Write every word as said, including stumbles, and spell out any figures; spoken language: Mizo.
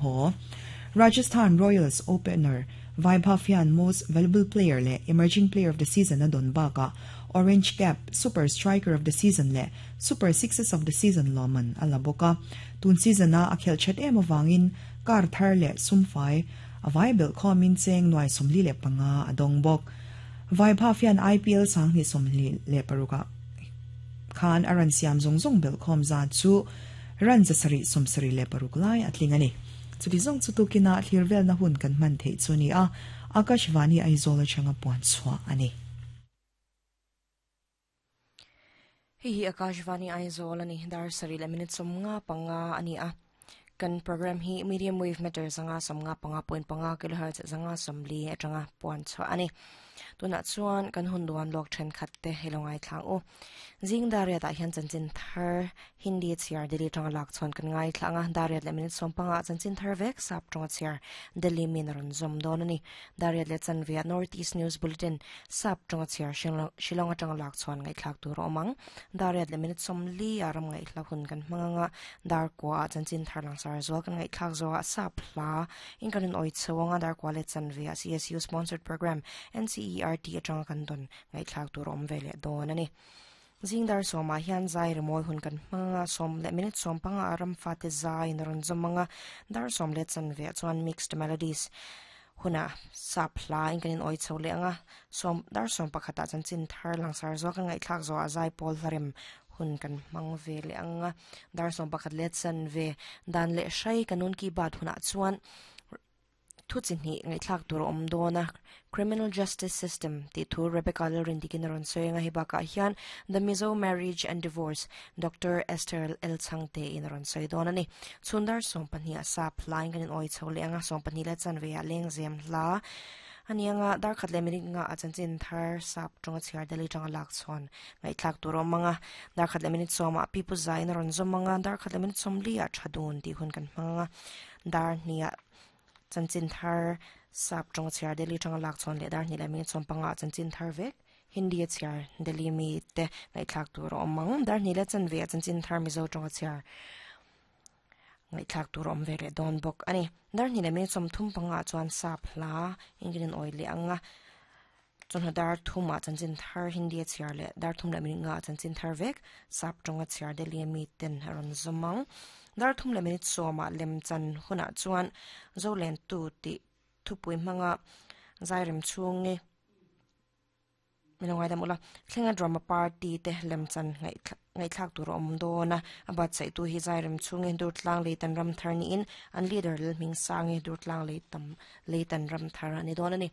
haw. Rajasthan Royals opener Vaibhav hian Most Valuable Player leh Emerging Player of the Season a dawn bakah Orange Cap, Super Striker of the Season leh Super Sixes of the Season lawmman a la bawk a. Tun season-a a khelh that em avangin car thar leh sumfai a vai belh khawmin cheng nuai sawmli leh panga a dawng bawk. Vaibhav hian I P L sanghnih sawmhnih leh parukah khan a run siam zawng zawng belh khawm zat chu run zasarih sawmsarih leh paruk lai a tling a ni. Chuti zawng chu tukina thlir velna hun kan hman theih chu ni a, Akashvani Aizawl atanga puan chhuah a ni. Hei hi Akashvani Aizawl a ni, dar sarih leh minute sawmnga panga a ni a. Kan program hi medium wave meter zanga sawmnga panga point panga kilohertz zanga sawmli atanga puan chhuah a ni. Tunah chuan kan hun duan lawk thenkhat te hei lo ngaithlang u. Zing dariat ah hian chanchin thar Hindi chhiar Delhi atanga lak chuan kan ngaithlang a, dariat leh minute sawm panga chanchin thar vek sap tawnga chhiar Delhi min a rawn zawm dawn a ni. Dariat leh chanve ah North East News Bulletin sap tawnga chhiar Shillong atanga lak chuan ngaihthlak tur a awm ang. Dariat leh minute sawmli ah ram ngaihla hun kan hmang anga, dar kua ah chanchin thar langsar zual kan ngaihthlak zawh ah sap hla in kan rawn awih chho anga, dar kua leh chanve ah C S U sponsored program N C E R T atanga kan dawn ngaihthlak tur a awm ve leh dawn a ni. Zing dar sawmah hian zai rimawi hun kan hmang anga, sawm leh minute sawm panga a ram fate zai in a rawn zawm anga, dar sawm leh chanve ah chuan mixed melodies hunah sap hla in kan in awih chho leh anga, sawm dar sawm pakhatah chanchin thar langsar zual kan ngaihthlak zawhah zai pawl hlarem hun kan hmang ve leh anga, dar sawm pakhat leh chanve dan leh hrai kanun ki baat hunah chuan thu chi hnih ngaihthlak tur a awm dawn a, Criminal Justice System tih thu Rebecca Lalrindikin a rawn sawi anga, hei bakah hian The Mizo Marriage and Divorce Doctor Esther L Chhangte in a rawn sawi dawn a ni. Chhun dar sawm pahnih ah sap hlain kan in awih chho leh anga, sawm pahnih leh chanve ah lengzem hla a ni anga, dar khat leh minute nga a chanchin thar sap tawnga chhiar Delhi tanga lak chhawn ngaihthlak tur a awm anga, dar khat leh minute sawm ah Pipu Zai in a rawn zawm anga, dar khat leh minute sawmli ah tha dun tih hun kan hmang anga, dar hnih ah chanchin thar sap tawnga chhiar Delhi tanga lak chhawn leh dar hnih leh minute sawm panga ah chanchin thar vek Hindi a chhiar Delhi mi te ngaihthlak tur a awm ang, dar hnih leh chanve ah chanchin thar Mizo tawnga chhiar ngaihthlak tur a awm ve leh dawn bawk a ni. Dar hnih leh minute sawm thum panga ah chuan sap hla in kan in awih leh anga, chawhnu dar thum ah chanchin thar Hindi a chhiar leh dar thum leh minute nga ah chanchin thar vek sap tawnga chhiar Delhi mi ten a rawn zawm ang. Dar thum leh minute sawm ah lem chan hunah chuan Zolen tu tih thupui hmanga zairem chhungi minlo ngaidam ula, thlenga drama party te lem chan ngaihthlak tur a awm dawn a, a buatsaih tu hi zairem chhungi Durtlang Leitan ram thar niin an leader Lalhming Sangi Durtlang Leitam Leitan ram thar a ni dawn a ni.